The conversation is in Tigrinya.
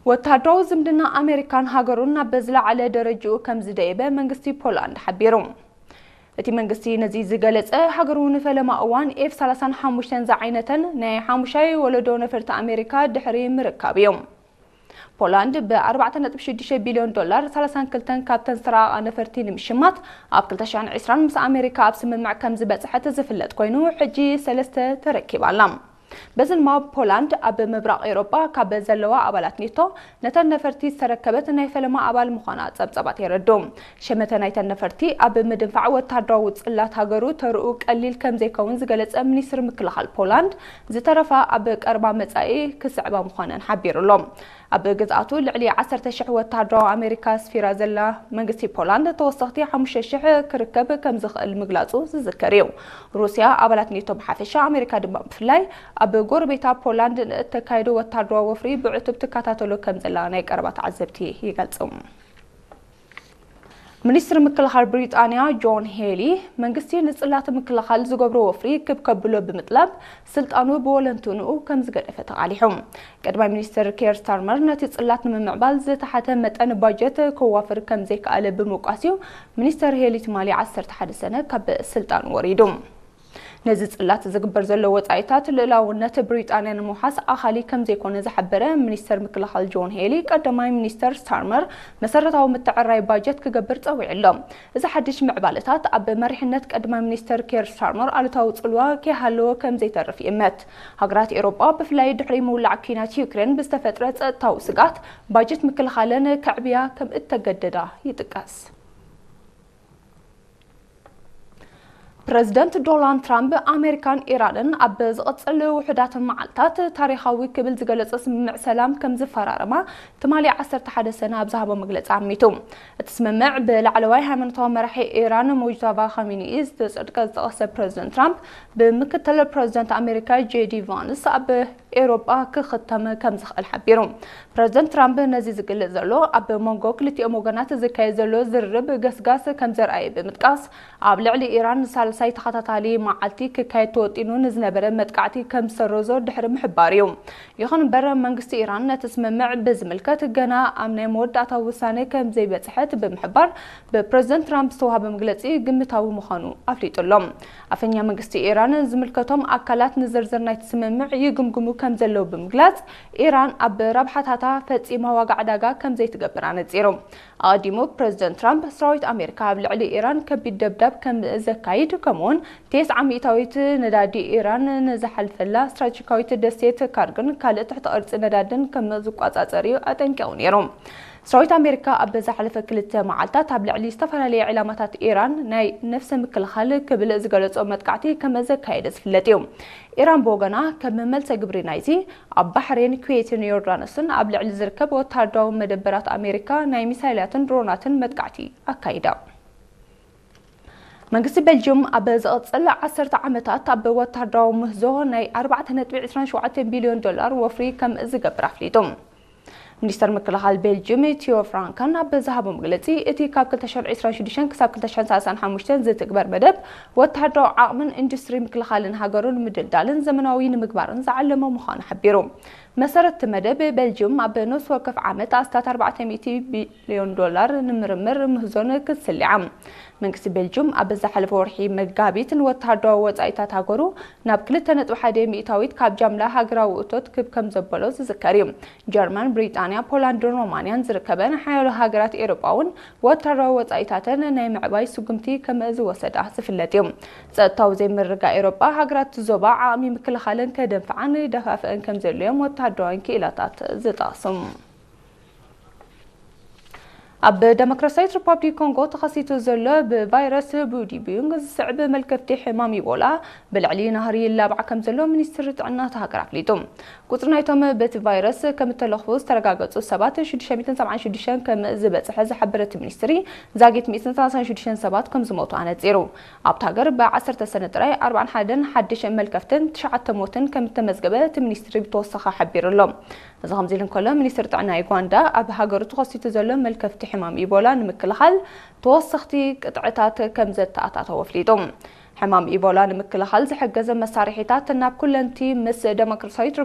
ወተሃደራዊ ዝምድና ኣሜሪካን ሃገሩን ናብ ዝለዓለ ደረጃኡ ከም ዝደየበ መንግስቲ ፖላንድ ሓቢሩ። እቲ መንግስቲ ነዚ ዝገለጸ፣ ሃገሩ ንፈለማ እዋን ኤፍ ሰላሳን ሓሙሽተን ዝዓይነተን ናይ ሓሙሻይ ወለዶ ነፈርቲ ኣሜሪካ ድሕሪ ምርካብ እዩ። ፖላንድ ብ ኣርባዕተ ነጥቢ ሽዱሽተ ቢልዮን ዶላር ሰላሳን ክልተን ካብተን ዝተራቐቓ ነፈርቲ ንምሽማት ኣብ ክልተ ሽሕን ዕስራን ምስ ኣሜሪካ ኣብ ስምምዕ ከም ዝበጽሐት ዝፍለጥ ኮይኑ፣ ሕጂ ሰለስተ ተረኪባ ኣላ። በዚ ድማ ፖላንድ ኣብ ምብራቕ ኤውሮጳ ካብ ዘለዋ ኣባላት ኔቶ ነተን ነፈርቲ ዝተረከበት ናይ ፈለማ ኣባል ምዃና ጸብጻባት የረድኡ። ሸመተ ናይተን ነፈርቲ ኣብ ምድንፋዕ ወተሃደራዊ ጽላት ሃገሩ ተርኡ ቀሊል ከም ዘይከውን ዝገለጸ ሚኒስትሪ ምክልኻል ፖላንድ፣ ዝተረፋ ኣብ ቀረባ መጻኢ ክስዕባ ምዃነን ሓቢሩ ኣሎ። ኣብ ግዝኣቱ ልዕሊ ዓሰርተ ሽሕ ወተሃደራዊ ኣሜሪካ ኣስፊራ ዘላ መንግስቲ ፖላንድ፣ ተወሰኽቲ ሓሙሽተ ሽሕ ክርከብ ከም ዝኽእል ምግላጹ ዝዝከር እዩ። ሩስያ ኣባላት ኔቶ ብሓፈሻ፣ ኣሜሪካ ድማ ብፍላይ፣ ኣብ ጎረቤታ ፖላንድ ንእተካየዶ ወተሃደራዊ ወፍሪ ብዕቱብ ትከታተሎ ከም ዘላ ናይ ቀረባ ተዓዘብቲ ይገልጹ። ሚኒስትሪ ምክልኻል ብሪጣንያ ጆን ሄሊ፣ መንግስቲ ንጽላት ምክልኻል ዝገብሮ ወፍሪ ክብ ከብሎ ብምጥላብ፣ ስልጣኑ ብወለንትንኡ ከም ዝገደፈ ተቓሊሑ። ቀዳማይ ሚኒስትር ኬር ስታርመር ነቲ ጽላት ንምምዕባል ዝተሓተ መጠን ባጀት ከዋፍር ከም ዘይከኣለ ብምውቃስ እዩ ሚኒስተር ሄሊ ትማሊ ዓሰርተ ሓደ ሰነ ካብ ስልጣን ወሪዱ። ነዚ ጽላት ዝግበር ዘሎ ወጻኢታት ልእላውነት ብሪጣንያ ንምውሓስ ኣኻሊ ከም ዘይኮነ ዝሓበረ ሚኒስተር ምክልኻል ጆን ሄሊ፣ ቀዳማይ ሚኒስተር ስታርመር መሰረታዊ ምትዕራይ ባጀት ክገብር ጸዊዑ ኣሎ። እዚ ሓድሽ ምዕባለታት ኣብ መሪሕነት ቀዳማይ ሚኒስተር ኬር ስታርመር ኣሉታዊ ጽልዋ ከይሃለዎ ከም ዘይተርፍ ይእመት። ሃገራት ኤውሮጳ ብፍላይ ድሕሪ ምውላዕ ኲናት ዩክሬን ብዝተፈጥረ ጸጥታዊ ስግኣት ባጀት ምክልኻለን ከዕብያ ከም እተገደዳ ይጥቀስ። ፕረዚደንት ዶናልድ ትራምፕ ኣሜሪካን ኢራንን ኣብ ዝቕጽል ውሑዳት መዓልታት ታሪኻዊ ክብል ዝገለጾ ስምምዕ ሰላም ከም ዝፈራረማ ትማሊ ዓሰርተ ሓደ ሰነ ኣብ ዝሃቦ መግለጺ ኣሚቱ። እቲ ስምምዕ ብላዕለዋይ ሃይማኖታዊ መራሒ ኢራን ሙጅታባ ካሚኒኢ ዝተጸድቀ ዝጠቐሰ ፕረዚደንት ትራምፕ፣ ብምክትል ፕረዚደንት ኣሜሪካ ጄዲ ቫንስ ኣብ ኤውሮጳ ክኽተም ከም ዝኽእል ሓቢሩ። ፕረዚደንት ትራምፕ ነዚ ዝገልጽ ዘሎ፣ ኣብ መንጎ ክልቲኦም ወገናት ዝካየድ ዘሎ ዝርርብ ገስጋስ ከም ዘርኣየ ብምጥቃስ፣ ኣብ ልዕሊ ኢራን ንሳልሳይ ተኸታታሊ መዓልቲ ክካየድ ተወጢኑ ንዝነበረ መጥቃዕቲ ከም ዝሰረዞ ድሕሪ ምሕባሩ እዩ። ይኹን እምበር፣ መንግስቲ ኢራን ነቲ ስምምዕ ብዝምልከት ገና ኣብ ናይ መወዳእታ ውሳነ ከም ዘይበጽሐት ብምሕባር፣ ብፕረዚደንት ትራምፕ ዝተዋህበ መግለጺ ግምታዊ ምዃኑ ኣፍሊጡ ኣሎ። ኣፈኛ መንግስቲ ኢራን፣ ዝምልከቶም ኣካላት ንዝርዝር ናይቲ ስምምዕ ይግምግሙ ከም ዘለዉ ብምግላጽ፣ ኢራን ኣብ ረብሓታታ ፈጺማ ዋጋ ዕዳጋ ከም ዘይትገብር ኣነጺሩ። ኣቐዲሙ ፕረዚደንት ትራምፕ፣ ሰራዊት ኣሜሪካ ኣብ ልዕሊ ኢራን ከቢድ ደብዳብ ከም ዘካይድ፣ ከምኡውን ቴስዓ ሚእታዊት ነዳዲ ኢራን ንዝሓልፈላ ስትራቴጂካዊት ደሴት ካርግን ካልእ ትሕቲ ቅርጺ ነዳድን ከም ዝቆጻጸር እዩ ኣጠንቂቑ ነይሩ። ሰራዊት ኣሜሪካ ኣብ ዝሓለፈ ክልተ መዓልታት ኣብ ልዕሊ ዝተፈላለየ ዕላማታት ኢራን ናይ ነፍሰ ምክልኻል ክብል ዝገለጾ መጥቃዕቲ ከም ዘካየደ ዝፍለጥ እዩ። ኢራን ብወገና፣ ከም መልሰ ግብሪ ናይዚ፣ ኣብ ባሕሬን፣ ኩዌትን ዮርዳኖስን ኣብ ልዕሊ ዝርከብ ወተሃደራዊ መደበራት ኣሜሪካ ናይ ሚሳይላትን ድሮናትን መጥቃዕቲ ኣካይዳ። መንግስቲ ቤልጅየም ኣብ ዝቕጽል ዓሰርተ ዓመታት ኣብ ወተሃደራዊ ምህዞ ናይ ኣርባዕተ ነጥቢ ዕስራን ሸውዓተን ቢልዮን ዶላር ወፍሪ ከም ዝገብር ኣፍሊጡ። ሚኒስተር ምክልኻል ቤልጅየም ቲዮ ፍራንከን ኣብ ዝሃቦ መግለጺ፣ እቲ ካብ ክልተ ሽሕን ዕስራን ሽዱሽተን ክሳብ ክልተ ሽሕን ሰላሳን ሓሙሽተን ዝትግበር መደብ፣ ወተሃደራዊ ዓቕምን ኢንዱስትሪ ምክልኻልን ሃገሩ ንምድልዳልን ዘመናዊ ንምግባርን ዝዓለመ ምዃኑ ሓቢሩ። መሰረት እቲ መደብ፣ ቤልጅየም ኣብ ነፍሲ ወከፍ ዓመት ኣስታት ኣርባዕተ ሚእቲ ቢልዮን ዶላር ንምርምር ምህዞን ክትስልዓ። መንግስቲ ቤልጅየም ኣብ ዝሓለፈ ወርሒ መጋቢት ንወተሃደራዊ ወጻኢታት ሃገሩ ናብ ክልተ ነጥቢ ሓደ ሚእታዊት ካብ ጃምላ ሃገራዊ እቶት ክብ ከም ዘበሎ ዝዝከር እዩ። ጀርመን፣ ብሪጣንያ፣ ፖላንድን ሮማንያን ዝርከበን ሓያሎ ሃገራት ኤውሮጳ እውን ወተሃደራዊ ወጻኢታተን ናይ ምዕባይ ስጉምቲ ከም ዝወሰዳ ዝፍለጥ እዩ። ጸጥታዊ ዘይምርግጋእ ኤውሮጳ፣ ሃገራት እቲ ዞባ ዓቕሚ ምክልኻለን ከደንፍዓን ይደፋፍአን ከም ዘድልዮም ወተሃደራውያን ክኢላታት ዝጠቕሱ። ኣብ ደሞክራሲያዊት ሪፓብሊክ ኮንጎ ተኸሲቱ ዘሎ ብቫይረስ ቡዲቡንግ ዝስዕብ መልከፍቲ ሕማም ኢቦላ ብልዕሊ ናህሪ ይላባዕ ከም ዘሎ ሚኒስትሪ ጥዕና እታ ሃገር ኣፍሊጡ። ቁጽሪ ናይቶም በቲ ቫይረስ ከም እተለኽፉ ዝተረጋገጹ ሰባት ሽዱሽተ ሚእትን ሰብዓን ሽዱሽተን ከም ዝበጽሐ ዝሓበረ እቲ ሚኒስትሪ፣ ዛጊት ሚእትን ሰላሳን ሽዱሽተን ሰባት ከም ዝሞቱ ኣነጺሩ። ኣብታ ሃገር ብዓሰርተ ሰነ ጥራይ ኣርባዓን ሓደን ሓድሽ መልከፍትን ትሽዓተ ሞትን ከም እተመዝገበ እቲ ሚኒስትሪ ብተወሳኺ ሓቢሩ ኣሎ። እዚ ከምዚ ኢሉ እንከሎ፣ ሚኒስትሪ ጥዕና ዩጋንዳ ኣብ ሃገሩ ተኸሲቱ ዘሎ መልከፍቲ ሕማም ኢቦላ ንምክልኻል ተወሰኽቲ ቅጥዕታት ከም ዘተኣታተወ ኣፍሊጡ። ሕማም ኢቦላ ንምክልኻል ዝሕገዘ መሳርሒታት ናብ ኩለንቲ ምስ ደሞክራሲያዊት